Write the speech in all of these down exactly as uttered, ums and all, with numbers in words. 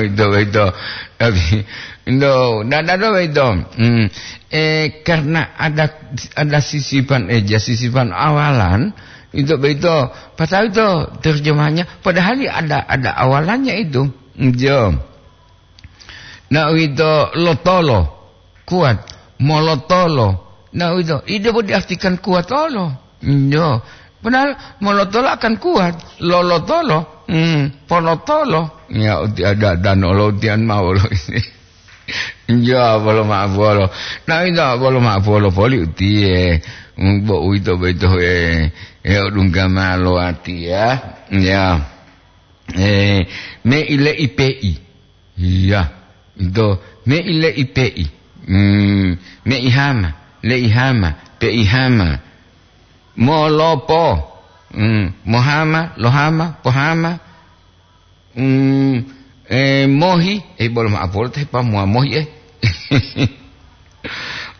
Itu, itu. Tapi, itu, dan ada itu. Hmm. Eh, karena ada, ada sisipan, eh, ya, sisipan awalan, itu, itu. Padahal itu terjemahannya, padahal ada, ada awalannya itu. Itu. Nah, itu lotolo, kuat. Molotolo. Nah, itu, itu diartikan kuat olo. Iyo. Padahal molotolo akan kuat. Lolotolo, hmm, polotolo. Ya, uti ada dan olo utian mau lo ini. Ya, bolo maaf bolo. Nah, itu bolo maaf bolo poli utie. Hmm, bo uito beto, eh, eh, odungga malo ati ya. Ya. Eh, me ile ipe'i. Iya, ito me ile ipe'i. Hmm, me ihama, le ihama, pe ihama. Molopo. Hmm, mohama, lohama, pohama. Hmm, eh, mohi, eh, bolo maaf, bolo teh pa mua mohi, eh.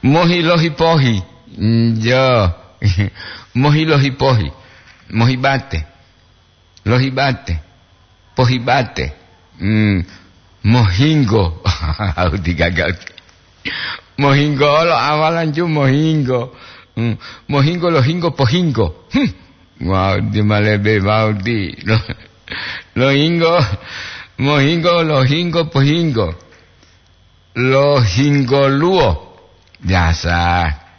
Mohi lohi pohi. Hmm, jo. Mohi lohi pohi. Mohi bate. Lohibate, pohibate, hmm, mohinggo. Au digaga. Mohinggo olo awalan ju mohinggo. Hmm, mohinggo, lohinggo, pohinggo. Hmm. Wau di malebe wau di. Lo-, lohinggo, mohinggo, lohinggo, pohinggo. Lohinggoluwo. Biasa.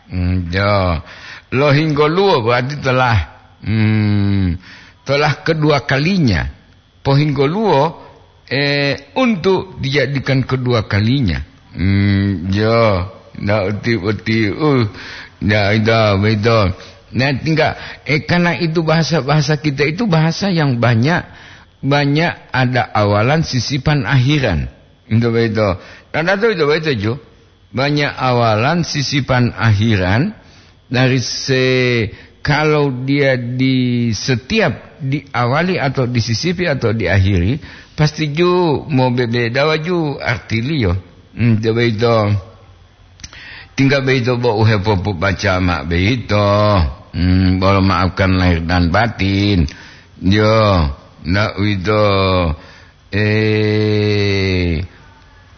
Hmm, jo. Lohinggoluwo berarti telah, hmm, telah kedua kalinya. Pohinggoluwo, eh, untuk dijadikan kedua kalinya. Hmm, jo. Ndak uti-uti, uh, ndak itu, begitu. Nah, tinggal, eh, karena itu bahasa-bahasa kita itu bahasa yang banyak, banyak ada awalan sisipan akhiran. Itu begitu. Dan itu, itu begitu, ju. Banyak awalan sisipan akhiran dari se-, kalau dia di setiap diawali atau disisipi atau diakhiri, pasti ju mau bebedawa ju artiliyo. Hmm, itu begitu. Tinggal begitu bo uhepopobaca ma begitu. Hmm, bolo maafkan lahir dan batin. Yo, ndak uwito, eh,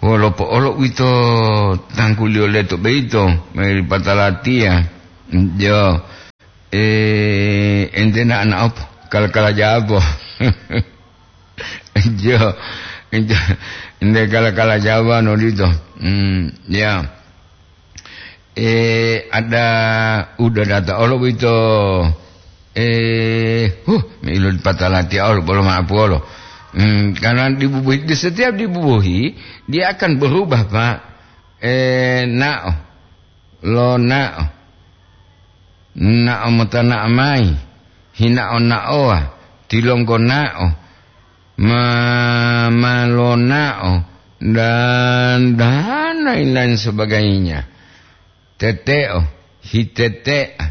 wolo po'olo uwito tangguliyo leto beito, meri patalatiya. Jo, eh, ente na ana opo? Kala-kala jabo. Jo, ente, ente kala-kala jabo anu dito. Hmm, ya. Eh, ada udah data olo boyito. Eh, huh, me ilo dipatala tiya olo, bolo ma'apu olo. Hmm, karena dibubuhi, di setiap dibubuhi, dia akan berubah, Pak. Eh, na'o, lona'o, na'o mota na'o mayi, hina'o na'owa, tilonggo na'o, ma-, ma lona'o, dan, dan lain-lain sebagainya. Tete'o, hitete'a,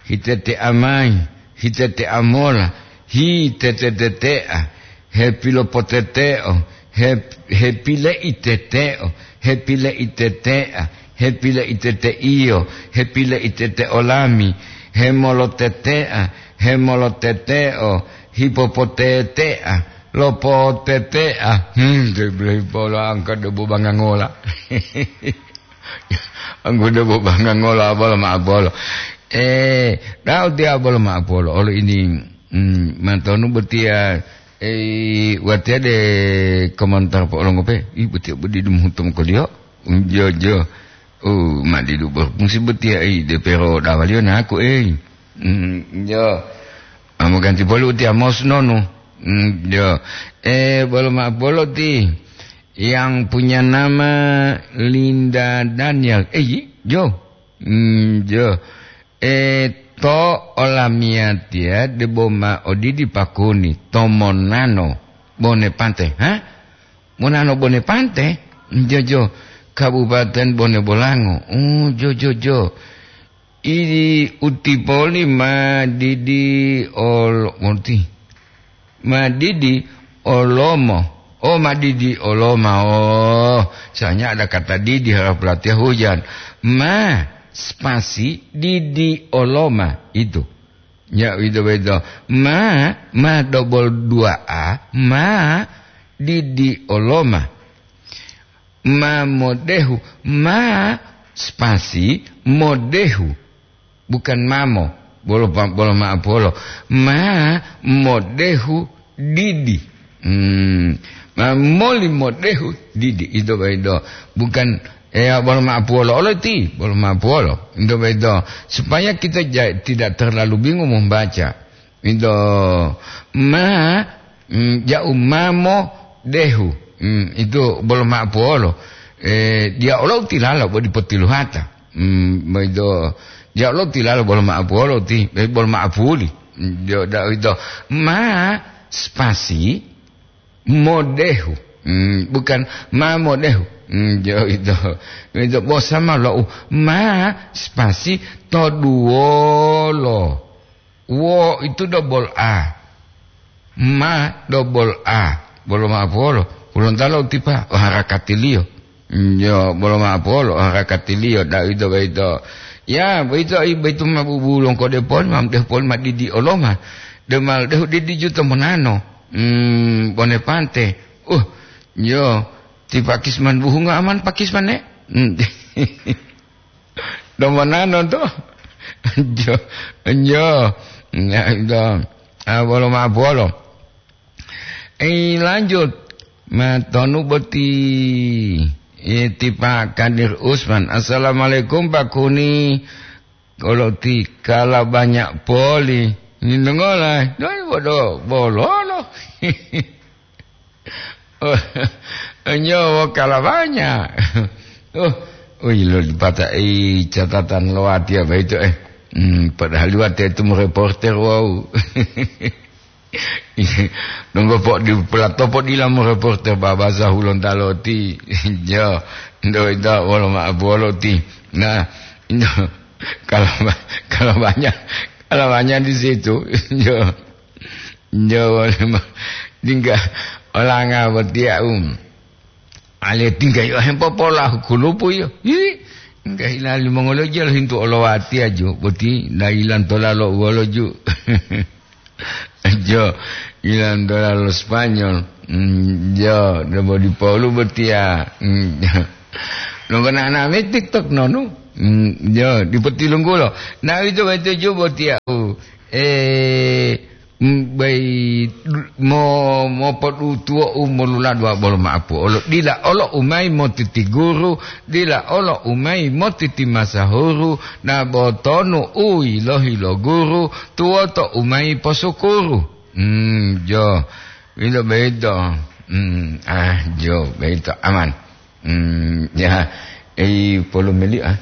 hitete'a mayi, hitete'a mola, hitetetete'a, hepilopotete'o, hep-, hepile'itete'o, hepile'itete'a, hepile'itete'iyo, hepile'itete'o lami, hemolotete'a, hemolotete'o, hipopotete'a, lopotete'a. Hmm, de-, de-, polo angka debu bangangola. Anggudo bobanga ngolo abolo ma abolo. Eh, dau tiya abolo ma abolo. Olo ini, mm, mantonu botiya, eh, watiya de komentar po olongo pe. Ih, botiya bodi dum hutum koliyo. Mm, jo, jo. Oh, ma didu berfungsi botiya, eh, de pero dawaliyo naku, eh. Mm, jo. Amo ganti poli utiya mos nonu. Mm, jo. Eh, bolo ma bolo ti. Yang punya nama Linda Daniel. Eh, yi, jo. Hmm, jo. Eh, to olamiyatiya debo ma odidi pakuni, to Monano, Bone Pante. Ha? Monano, Bone Pante? Jo, jo. Kabupaten Bone Bolango. Oh, jo, jo, jo. Idi utipoli ma didi ol-, monti. Ma didi olomo. Oh, ma didi oloma. Oh, soalnya ada kata didi, harap pelatihan hujan. Ma spasi didi oloma itu. Ya, itu betul. Ma, ma double dua A, ma didi oloma. Ma modehu, ma spasi modehu. Bukan mamo, bolo pa-, bolo ma'apuwolo. Ma modehu didi. Hmm, ma moli modehu didi. Ito boyito. Bukan, eh, bolo ma'apuwolo. Olo ti, bolo ma'apuwolo. Ito boyito. Supaya kita ja-, tidak terlalu bingung membaca. Ito ma, mm, ja'u mamo dehu. Mm, itu bolo ma'apuwolo. Eh, dia olo tilalo bo dipotiluhata. Mm, boyito, dia olo tilalo bolo ma'apuwolo ti, eh, bolo ma'apuli. Mm, jo, da, ito ma spasi modehu. Mm, bukan ma modehu. Mm, jo, ito. Ito bosama lo u ma spasi toduwolo. Wo itu double A. Ma double A. Bolo ma'apuwolo. Hulontalo utipa, o harakatiliyo. Yo, bolo ma'apuwolo, o harakatiliyo, da ito boyito. Ya, boyito, i, boyito ma bubulongko depon, ma depon ma didi oloma. Demal dehu didi juto monano. Hmm, bone pante. Uh, yo, ti pakisman buhunga aman pakisman, ne? Hmm. Domonano to. Jo, jo. Ya, ito. Ah, bolo ma'apuwolo. Eh, lanjut. Matonu boti. Eh, ti Pak Kadir Usman. Assalamualaikum, Pak Kuni. Kalau ti kala banyak poli. Ini dengola. Doi bodo bololo. Oh, nyowo kalawanya. Oh, oh, ilo dipata'i catatan lo watiya boyito, eh. Hmm, padahal watiya itu mereporter, wow. Nunggu po di pelato po dila mereporter babasa Hulontalo ti. Jo, ndo ita wolo ma'apuwolo ti. Nah, ndo, kalau ba-, kalau banyak, kalau banyak di situ, jo. Njawa lima. Tingga olanga botiya, um. Ale tingga yo hempopola kulupu yo. Hi, tingga hila limongoliyo jalo hintu olowatiya ju, boti na ilantola lo uwolo ju. Jo, ilantola lo Spanyol. Mm, jo, debo dipolu botiya. Mm, jo. Nonggo nana me TikTok nonu. Mm, jo, dipotilunggulo. Na ito, ito ju botiya. Uh, eh, Mm, bai mo-, mopodutuwo'u moluladuwa bolo ma'apuwolo. Dila olo u mayi motiti guru, dila olo u mayi motiti masahuru, na botonu u yilohi lo guru, tuwoto u mayi posukuru. Mm, jo, wilo boyito. Mm, ah, jo, boyito aman. Hmm, ya, ei, polomeli, ah.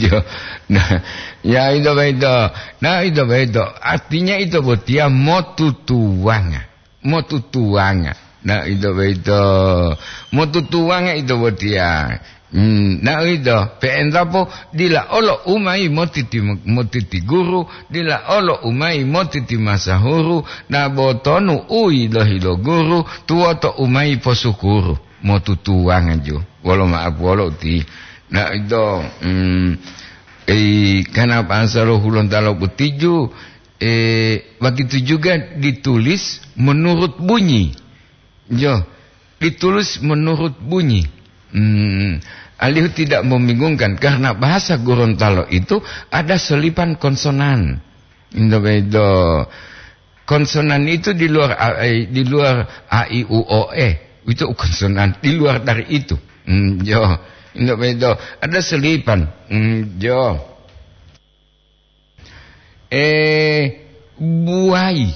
Jo, nah, ya, ito boyito. Nah, ito boyito. Artinya ito botiya motutuwanga. Motutuwanga. Nah, ito boyito. Motutuwanga ito botiya. Hmm, nah, ito. Pe'entapo dila olo u mayi motiti, motiti guru, dila olo u mayi motiti masahuru, na botonu u yilohi lo guru, tuwoto u mayi posukuru. Motutuwanga ju. Wolo ma'apuwolo uti. Na ito, mm, eh, kana bahasa lo Hulontalo boti ju, eh, begitu juga ditulis menurut bunyi. Jo, ditulis menurut bunyi. Hmm, alihu tidak membingungkan karena bahasa Gorontalo itu ada selipan konsonan. Ito boyito. Konsonan itu di luar a, eh, di luar a, i, u, o, e. Itu konsonan. Di luar dari itu. Hmm, jo. Ito boyito. Ada selipan. Hmm, jo. Eh, buwai.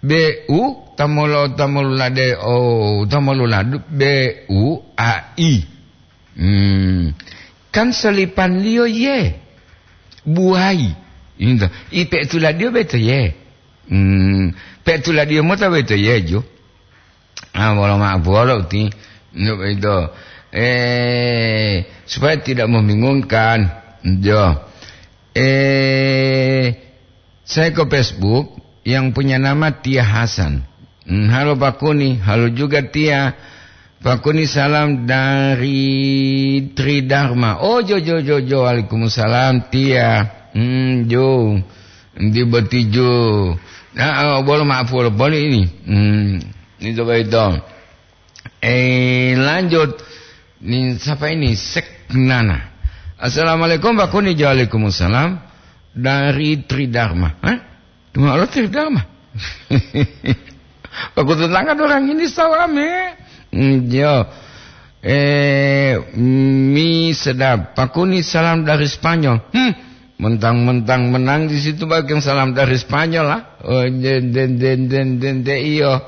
B U, tamolo, tamolulade, oh, tamoluladu, B U A I. Hmm. Kan selipanliyo ye. Buwai. Ito. I pe'etuladiyo beto ye. Hmm. Pe'etuladiyo mota beto ye, jo. Ah, wolo ma'apuwolo uti. Untuk itu. Eh, supaya tidak membingungkan. Jo. Eh, saya ke Facebook yang punya nama Tia Hasan. Hmm, halo Pak Kuni, halo juga Tia. Pak Kuni, salam dari Tridharma. Oh, jo, jo, jo, jo, waalaikumsalam, Tia. Hmm, jo. Di boti jo. Nah, oh, bolo ma'apuwolo boli ini. Hmm, ini coba itu. Eh, lanjut. Nih, siapa ini? Seknana. Assalamualaikum, Pak Kuni. Waalaikumsalam. Dari Tridharma. Hah? Cuma Allah Tridharma. Aku tetangga orang ini salam, eh. Hmm, yo. Eh, mi sedap. Pak Kuni, salam dari Spanyol. Hmm, mentang-mentang menang di situ, bagian salam dari Spanyol lah. Oh, den, den, den, den, den, den, iyo.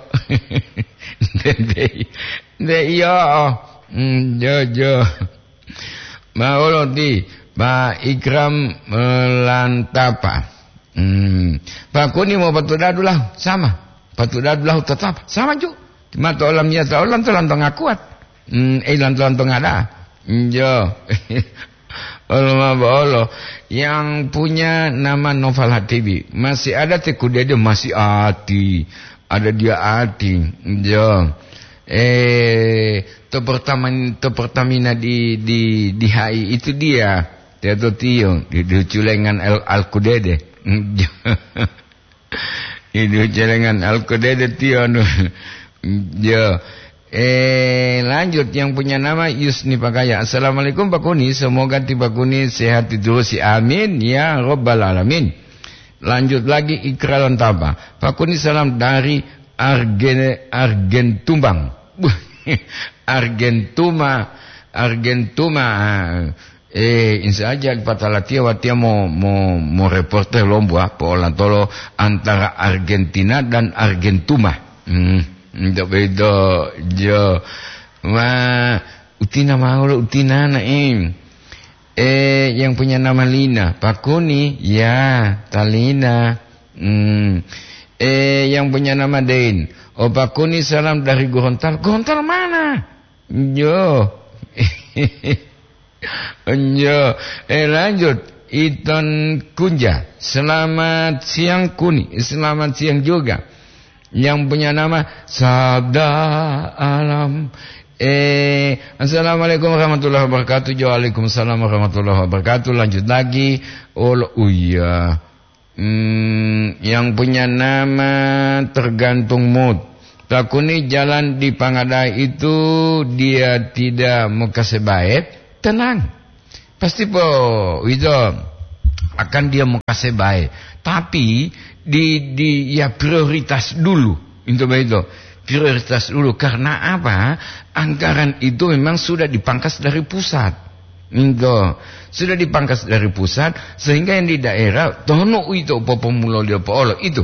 Den, den, den, iyo. Hmm, jo, jo. Ma'olo ti, Pak Ikram, eh, Lantapa. Hmm. Pak Kuni mau patu dadu lah, sama. Patu dadu lah tetap, sama ju. Cuma to olam ya to olam to lantong kuat. Hmm, eh, lantong-lantong ada. Hmm, jo. Olo ma bolo. Yang punya nama Noval Hatibi. Masih ada ti Kudede, masih ati. Ada dia ati. Jo. Eh, to pertama, to Pertamina di, di, di H I itu dia. Dia to tiyo, di, di Culengan Al, Al Kudede. Di, di Culengan Al Kudede tiyo, anu. Ya. Eh, lanjut, yang punya nama Yusni Pakaya. Assalamualaikum, Pak Kuni. Semoga ti Pak Kuni sehat diterus. Amin, ya Rabbal Alamin. Lanjut lagi, Ikra Lantapa. Pak Kuni, salam dari Argen-, Argentumbang. Argentuma, Argentuma. Eh, insya Allah, patalatia watia mo, mo, mo reporter lombu, ah, po'olatolo antara Argentina dan Argentuma. Hmm, ndak beda, jo. Wah, utina mau lo, utina na, eh. Eh, yang punya nama Lina, Pak Kuni, ya, Talina. Hmm. Eh, yang punya nama Dein. Oh, Pak Kuni, salam dari Gorontalo. Gorontalo mana? Jo. Jo. Eh, lanjut. Iton Kunja. Selamat siang, Kuni. Selamat siang juga. Yang punya nama Sabda Alam. Eh, assalamualaikum warahmatullahi wabarakatuh. Waalaikumsalam warahmatullahi wabarakatuh. Lanjut lagi. Oh, lo-, oh iya. Hmm, yang punya nama tergantung mood. Pak Kuni, jalan di Pangadai itu dia tidak mau kasih baik, tenang. Pasti po itu akan dia mau kasih baik. Tapi di, di, ya, prioritas dulu. Itu begitu. Prioritas dulu. Karena apa? Anggaran itu memang sudah dipangkas dari pusat. Itu sudah dipangkas dari pusat, sehingga yang di daerah tono itu popomulo dia poolo itu.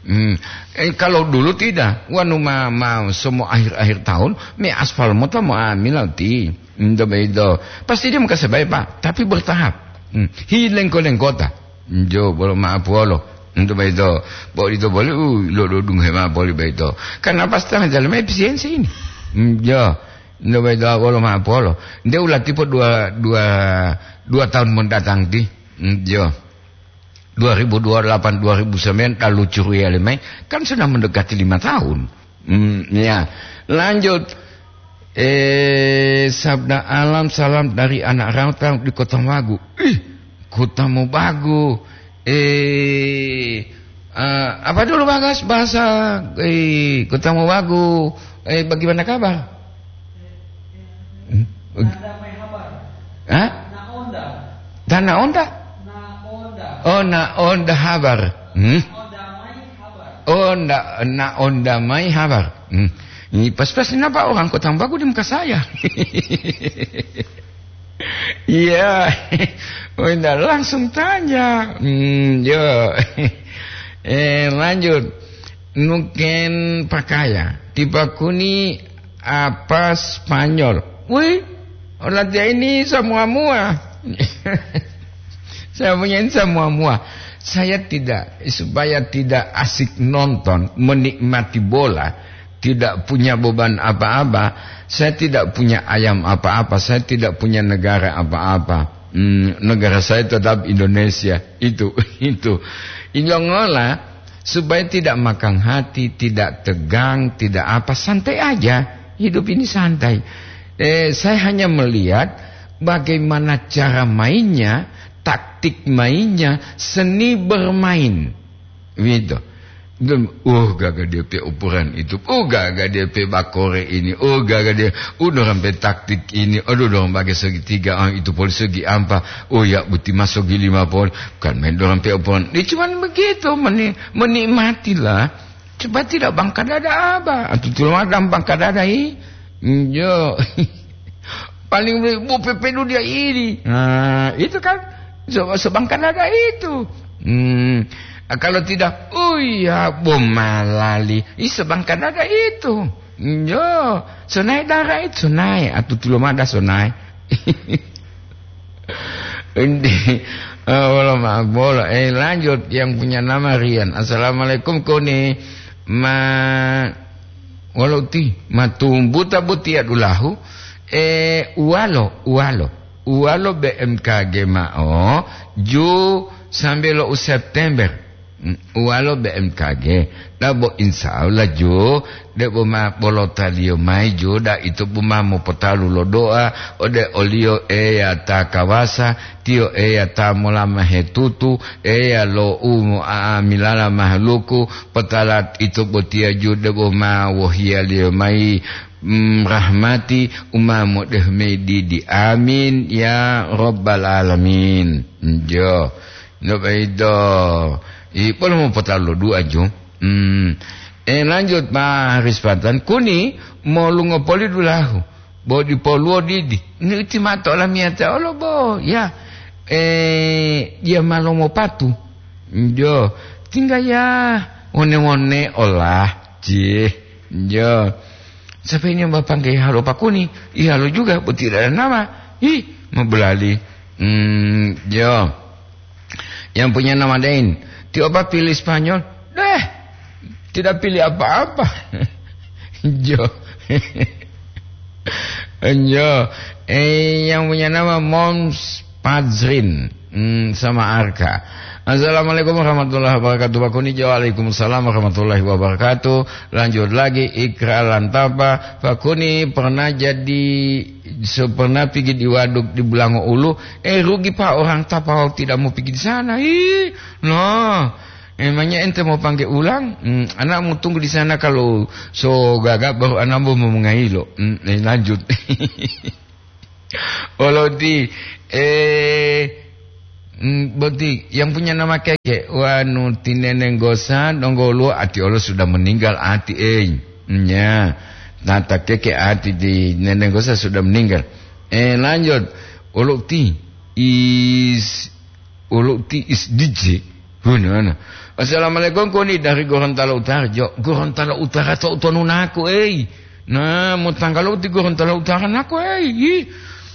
Hmm. Eh, kalau dulu tidak, wanu ma, ma semua akhir-akhir tahun, me aspal mota mo amila ti. Itu begitu. Pasti dia mau kasih baik, Pak, tapi bertahap. Hmm. Hi lengko-lengkota. Jo, bolo maaf wolo. Untuk begitu, bo itu boleh, uh, lo dodung hema boleh begitu. Karena apa, setengah jalan efisiensi ini. Hmm, jo. Untuk begitu, wolo maaf wolo. Dia ulah tipe dua, dua, dua tahun mendatang di. Hmm, jo. Dua ribu dua puluh delapan, dua ribu sembilan, lalu curi ya lemai. Kan sudah mendekati lima tahun. Hmm, ya. Lanjut. Eh, Sabda Alam, salam dari anak rantau di Kota Magu. Ih, Kota Mobagu. Eh, eh, apa dulu, Bagas, bahasa, eh, Kota Mobagu? Eh, bagaimana kabar? Hmm? Hah? Tanah Onda? Oh, na Onda habar. Hmm? Oh, nda, na Onda mai habar. Hmm. Ini pas-pas, kenapa orang Kota Bagu di muka saya? Iya. Oh, nda langsung tanya. Hmm, yo. Eh, lanjut. Nuken pakaya. Tipa Kuni apa Spanyol? Wih, orang dia ini semua-mua. Saya punya ini semua-mua. Saya tidak, supaya tidak asik nonton, menikmati bola, tidak punya beban apa-apa, saya tidak punya ayam apa-apa, saya tidak punya negara apa-apa. Hmm, negara saya tetap Indonesia. Itu, itu. Ilongola supaya tidak makan hati, tidak tegang, tidak apa, santai aja. Hidup ini santai. Eh, saya hanya melihat bagaimana cara mainnya, taktik mainnya, seni bermain. Gitu. Dan, oh, gaga dia pe ukuran itu. Oh, gaga dia pe bakore ini. Oh, gaga dia, oh, dorang pe taktik ini. Aduh, dorang pakai segitiga, ah, itu poli segi ampa. Oh, ya, buti masuk di lima poli. Kan main dorang pe ukuran. Dia cuman begitu, meni-, menikmatilah. Coba tidak bangka dada apa? Atau tulang ada bangka dada, ih. Yo. Paling bu pepenu dia ini. Nah, itu kan so-, sebangka dada itu. Hmm, kalau tidak, oh iya, bomalali. Ih, sebangka dada itu. Yo, sonai dara itu, sonai. Atau tulomada sonai. Ini, eh, wala maaf bolo. Eh, lanjut, yang punya nama Rian. Assalamualaikum, Koni. Ma, wala uti, matumbuta butia dulahu. Eh, uwalo, uwalo. Uwalo B M K G ma'o, ju sambe lo u September. Mm, uwalo B M K G. Dabo insya Allah ju, debo ma bolotaliyo mayi ju, da ito bu ma mopotalu lo doa, ode oliyo Eya ta kawasa, tiyo Eya ta molama hetutu, Eya lo u mo-, a-, milala mahaluku, potala ito botiya ju debo ma wohiyaliyo mayi, mm, rahmati, u ma modehu mayi didi. Amin, ya Rabbal Alamin. Jo. No baido. I, bolo mopotalu lo du'a ju. Hmm. Eh, lanjut, Pak Haris Patan. Kuni, molungo poli dulahu. Bo dipoluwo didi. Ni uti mato olamiyata olo bo. Ya. Eh, dia malomo patu. Jo. Tinggal ya. One-one olah. Cih. Jo. Sampai ini bapangge halo Pak Kuni. Ihalo juga. Bo tidak ada nama. Ih, mabulali. Hmm, jo. Yang punya nama Dain. Ti opa pilih Spanyol? Deh, tidak pilih apa-apa. Jo. Jo. Eh, yang punya nama Moms Pazrin. Hmm, sama Arka. Assalamualaikum warahmatullahi wabarakatuh. Pak Kuni, waalaikumsalam warahmatullahi wabarakatuh. Lanjut lagi, Ikra Lantapa. Pak Kuni pernah jadi, so pernah pigi di waduk di Bulango Ulu. Eh, rugi, Pak, orang Tapau tidak mau pigi di sana. Ih, no. Emangnya ente mau panggil ulang? Hmm, anak mau tunggu di sana, kalau so gaga baru anak mau mengailo. Hmm, eh, lanjut. Olo ti, eh, mm, boti yang punya nama Keke, wanu tineneng gosa, donggo luo ati olo sudah meninggal ati, eh. Nya, tata Keke ati di neneng gosa sudah meninggal. Eh, lanjut. Olo ti is, olo ti is D J. Hunana. Assalamualaikum, Koni dari Gorontalo Utara. Jo, Gorontalo Utara to utonu naku, ei. Nah, mo tanggalu ti Gorontalo Utara naku, ei. Ih.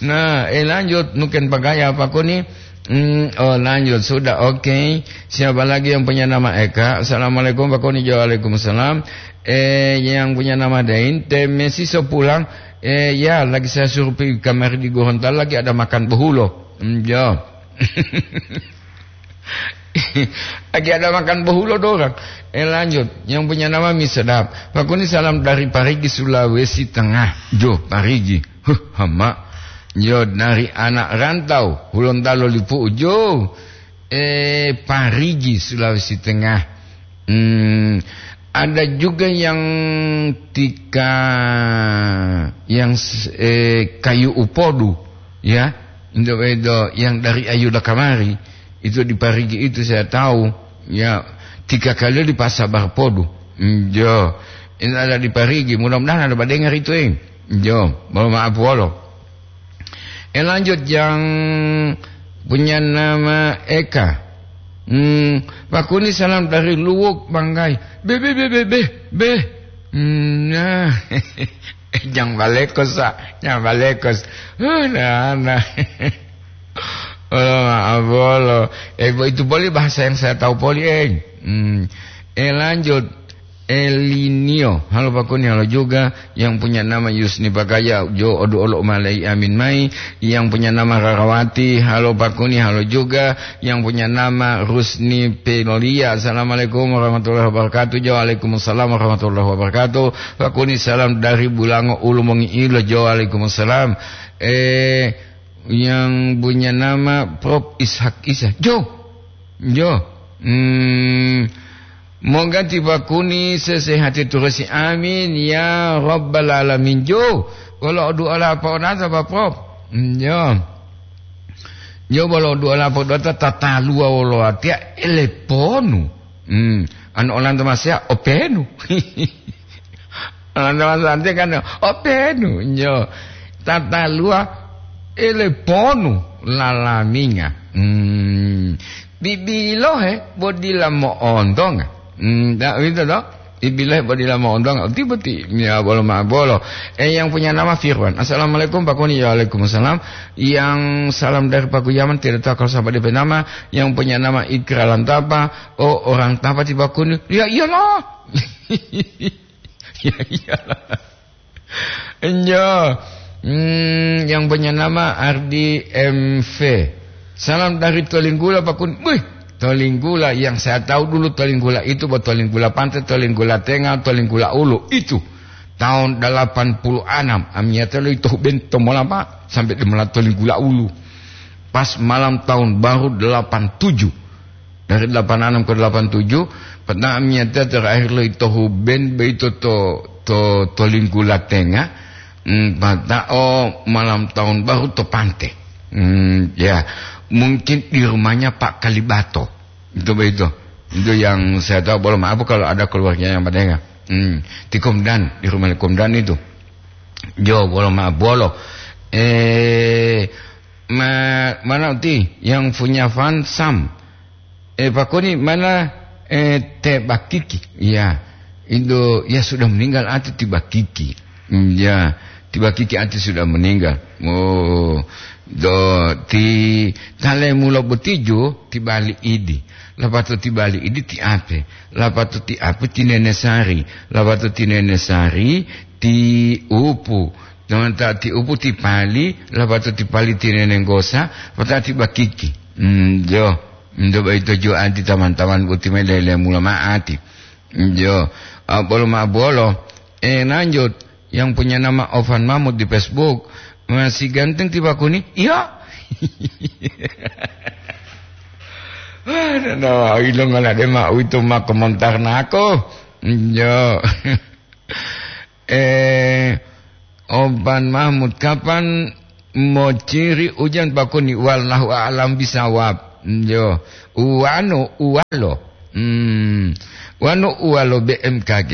Nah, eh, lanjut, nuken bagaya apa, Koni? Hmm, oh, lanjut, sudah, oke. Siapa lagi yang punya nama Eka? Assalamualaikum, Pak Koni. Jo, waalaikumsalam. Eh, yang punya nama Dain, te Messi so pulang. Eh, ya, lagi saya suruh pergi kamari di Gorontalo, lagi ada makan behulo. Hmm, jo. Lagi ada makan bohulo dorang. Eh, lanjut. Yang punya nama Mi Sedap. Pak Kuni, salam dari Parigi, Sulawesi Tengah. Jo, Parigi. Huh, hama. Yo, dari anak rantau, Hulontalo Lipu. Jo. Eh, Parigi, Sulawesi Tengah. Hmm, ada juga yang tika, yang s-, eh, kayu upodu, ya. Indo-, indo-, yang dari Ayuda kamari, itu di Parigi itu saya tahu, ya, tiga kali di Pasar Barpodu. Njo, ini ada di Parigi, mudah-mudahan ada badengar itu, eh. Njo, mohon maaf wolo. Eh, lanjut yang punya nama Eka. Hmm, Pak Kuni, salam dari Luwuk, Banggai. Be, be, be, be, be, be. Hmm, nah. Jang balekos, Pak. Jang balekos. Huh, nah, nah. Oh, maaf, bolo. Eh, bo-, itu poli bahasa yang saya tahu poli, eh. Hmm. Eh, lanjut. Elinio. Halo, Pak Kuni, halo juga. Yang punya nama Yusni Pakaya, jo odu olo malai amin mai. Yang punya nama Rarawati, halo, Pak Kuni, halo juga. Yang punya nama Rusni Pelolia. Assalamualaikum warahmatullahi wabarakatuh. Jo, waalaikumsalam warahmatullahi wabarakatuh. Pak Kuni, salam dari Bulango Ulu Mongiilo. Jo, waalaikumsalam. Eh, yang punya nama Prof Ishak Isa. Jo. Jo. Hmm. Moga ti Pak Kuni sesehati turusi. Amin ya rabbal alamin. Jo, wolo du'a la po'onata, Pak Prof. Nyo. Nyo, wolo du'a la po'onata tataluwa wolo watiya eleponu. Hmm, anu olanto masea openu. Olanto masante kan openu. Nyo. Tataluwa eleponu lalaminga. Hmm. Bibilohe bo dila mo'ontonga. Hmm, ta-, uwito to? Bibilohe bo dila mo'ontonga. Uti boti, ya, bolo ma bolo. Eh, yang punya nama Firwan. "Assalamualaikum, Pak Kuni." "Waalaikumsalam." "Yang salam dari Pak Guyaman, tidak tahu kalau sampai D P nama. Yang punya nama Ikra Lantapa." "Oh, orang Tapa ti Pak Kuni." "Ya iyalah." Ya iyalah. Enjo. Hmm, yang punya nama Ardi M V. "Salam dari Tolinggula, Pak Kun." Wih, Tolinggula, yang saya tahu dulu Tolinggula itu, buat Tolinggula Pantai, Tolinggula Tengah, Tolinggula Ulu. Itu tahun delapan puluh enam. Amiyata lo itu bento mola, Pak, sampai di mola Tolinggula Ulu. Pas malam tahun baru delapan tujuh. Dari delapan enam ke delapan tujuh, peta'amiyatiya terakhir lo ito Huben boyito to, to, to Linggula Tenga, mm, pata'o malam tahun baru to Pante. Mm, ya, mungkin di rumahnya Pak Kalibato. Itu boyito. Itu yang saya tahu, bolo maaf kalau ada keluarga yang mendengar. Mm, di Komdan, di rumah Komdan itu. Jo, bolo maaf, bolo. Eh, ma-, mana uti yang punya fan Sam? Eh, Pak Koni, mana, eh, Teh Bakiki? Ya, itu, ya, sudah meninggal ati ti Bakiki. Hmm, ya, ti Bakiki ati sudah meninggal. Oh, do, ti tale mulo botijo, ti bali idi. Lapato ti bali idi ti ape? Lapato ti ape ti Nene Sari? Lapato ti Nene Sari ti upu. Dongan ta ti upu ti pali, lapato ti pali ti Nene Nggosa, pata ti Bakiki. Hmm, jo. Ndo baito jo ati taman-taman boti me lele mula ma'ati. Jo, ah, bolo ma bolo. Eh, lanjut. Yang punya nama Ovan Mahmud di Facebook. "Masih ganteng ti Pak Kuni?" "Iya." Aduh, no, ilongola de ma uwito ma komentar nako. Jo. Eh, Ovan Mahmud, kapan mociri ujan Pak Kuni? Wallahu a'lam bisawab. Yo, uwano uwalo. Hmm. Wano uwalo B M K G,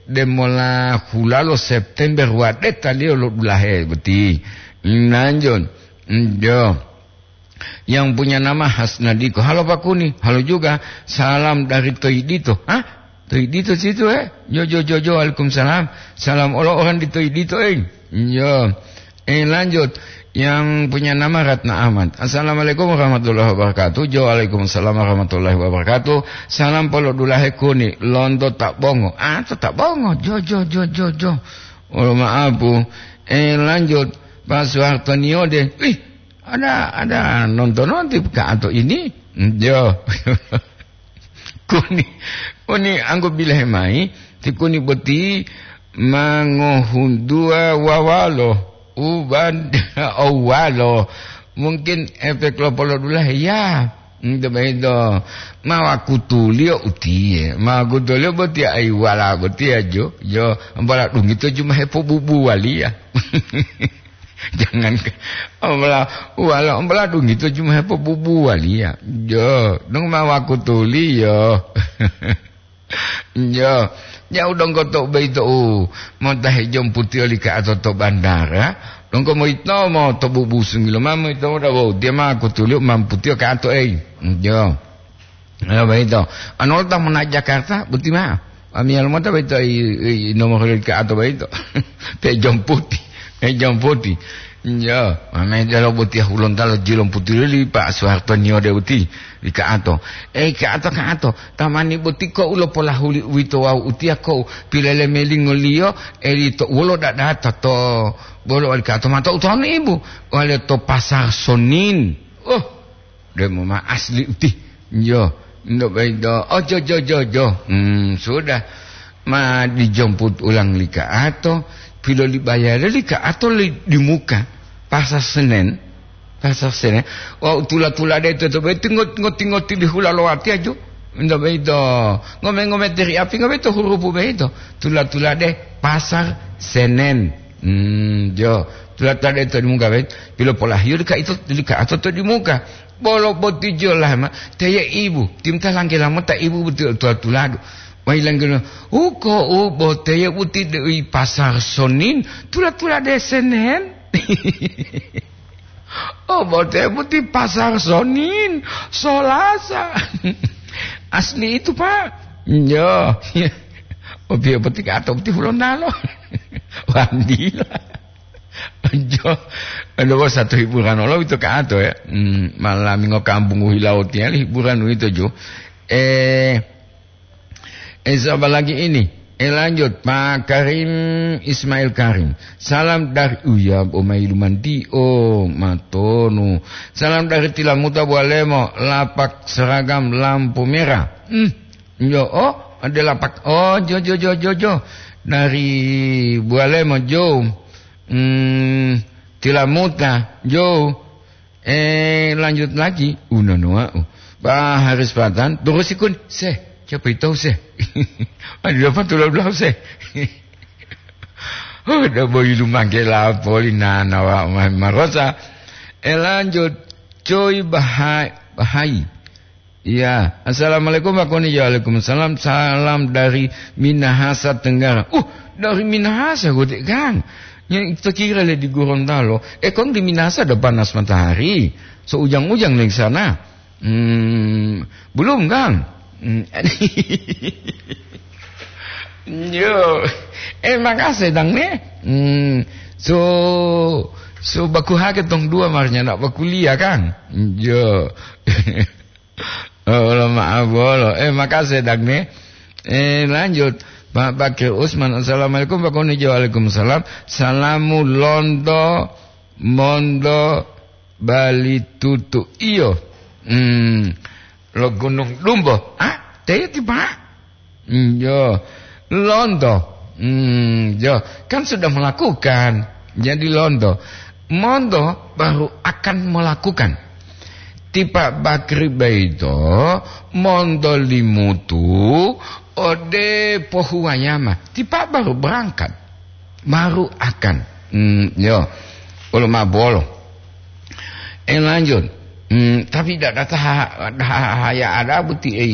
demola hulalo September wadetaliyo lo dulahe boti. Nanjon. Yo. Yang punya nama Hasnadiko. "Halo Pak Kuni." "Halo juga. Salam dari Toidito." "Hah? Toidito situ, eh?" "Jo, jo, jo, jo. Waalaikumsalam. Salam olo orang di Toidito, eh." Yo. Eh, lanjut. Yang punya nama Ratna Ahmad. "Assalamualaikum warahmatullahi wabarakatuh." "Jo, waalaikumsalam warahmatullahi wabarakatuh. Salam polo dulahe Kuni. Lonto tak bongo." "Ah, to tak bongo. Jo, jo, jo, jo, jo." Olo maapu. Eh, lanjut. Pak Soeharto Niode. Wih, ada, ada nonton-nonton Kak Ato ini. Jo. Kuni, kuni anggo bilahe mai, ti kuni boti ma ngohuntuwa wawalo, uban owalo. Mungkin efek lo polodulahe ya. Ento boyito, ma wakutuliyo utiye, ma wakutuliyo botiya ayi wala botiya jo, jo, ambola dungito ju ma hepobubuwaliya. Jangan ke, ambola, wala, ambola dungito ju ma hepobubuwaliya. Jo, dong ma wakutuliyo. Jo, ja'u donggo to boyito u mota hejomputiyo li ka'ato to bandara, donggo moyitomo to bubusungi lomao moyitomo dabo utiya ma wakutuliyo mamputiyo ka'ato eyi. Jo. Ya, boyito. Anu lo ta mona Jakarta, boti mao. Amiyalo mota boyito i, i, nomor li ka'ato boyito. Pejomputi, pejomputi. Ya, mame delo boti hulontalo jilomputi li Pak Soeharto Niode boti li ka'ato. Eh, ka'ato, ka'ato. Tamani boti ko ulo polahuli uwito wawu utiya ko pilele melingoliyo, eli to wolo dadata to bolo wali ka'ato mata utonu ibu. Wale to Pasar Sonin. Oh, Demo ma asli uti. Yo, ndo baido. Oh, jo, jo, jo, jo. Hmm, sudah. Ma dijomput ulang li ka'ato, pilolibayale li ka'ato li di muka. Pasar Senen. Pasar Senen. Wau tula-tula de to, to, tinggot, ngot, ngot, di hula lowati aju. Ento boyito, ngome-ngome teri api, ngoboyito hurupu boyito. Tula-tulade Pasar Senen. Hmm, jo. Tula-tulade to dimuka boyito. Pilopolahiyo deka ito, deka ato to dimuka. Bolo boti jo lama, teye ibu. Timta langgela mota ibu boti tula-tuladu. Mai langgela, uko u boteye uti dewi Pasar Sonin, tula-tulade Senen. Oh, bote boti Pasar Sonin, Solasa. Asli itu, Pak. Yo. Opiyo boti ka ato boti Hulontalo. Wandila. Jo. Ado satu hiburan olo itu ka ato ya. Hmm, malami ngo kampung u hilawo tiali hiburan itu jo. Eh, Eh, siapa lagi ini? Eh, lanjut, Pak Karim Ismail Karim. Salam dari, oh ya, Omai Lumanti, oh, Matonu. Salam dari Tilamuta Bualemo, lapak seragam lampu merah. Hmm, yo, oh, ada lapak. Oh, jo, jo, jo, jo, jo. Dari Bualemo, jo. Hmm, Tilamuta, jo. Eh, lanjut lagi, unono wau. Bah, Haris Patan, terus ikun, se, siapa itu se? Ada apa tulau belau se? Oh, ada boy lumangke lapoli nana wa ma-, marosa. Eh, lanjut, Coy Bahai, Bahai. Iya, assalamualaikum Pak Koni. Waalaikumsalam, salam dari Minahasa Tenggara. Uh, dari Minahasa, Godek Kang. Yang kita kira le di Gorontalo. Eh, Kong di Minahasa ada panas matahari. So ujang-ujang di sana. Hmm, belum, Kang. Hmm. Yo. Eh, makasih, Dang, ne. Hmm, so, so baku hake tong dua marnya nak bakuliah, Kang. Yo. Oh, lo maaf bolo. Eh, makasih, Dang, ne. Eh, lanjut. Pak Bakir Usman, assalamualaikum, Pak Koni. Waalaikumsalam. Salamu londo, mondo, bali tutu. Iyo. Hmm, lo Gunung Dumbo. Ah, teti, Pak. Hmm, yo. Londo. Hmm, yo. Kan sudah melakukan. Jadi londo. Mondo baru akan melakukan. Tipa bakri baito, mondo limutu, ode pohuwayama. Tipa baru berangkat. Baru akan. Hmm, yo. Olo ma bolo. Eh, lanjut. Hmm, tapi tidak ada taha-, taha-, haya ada buti, eh,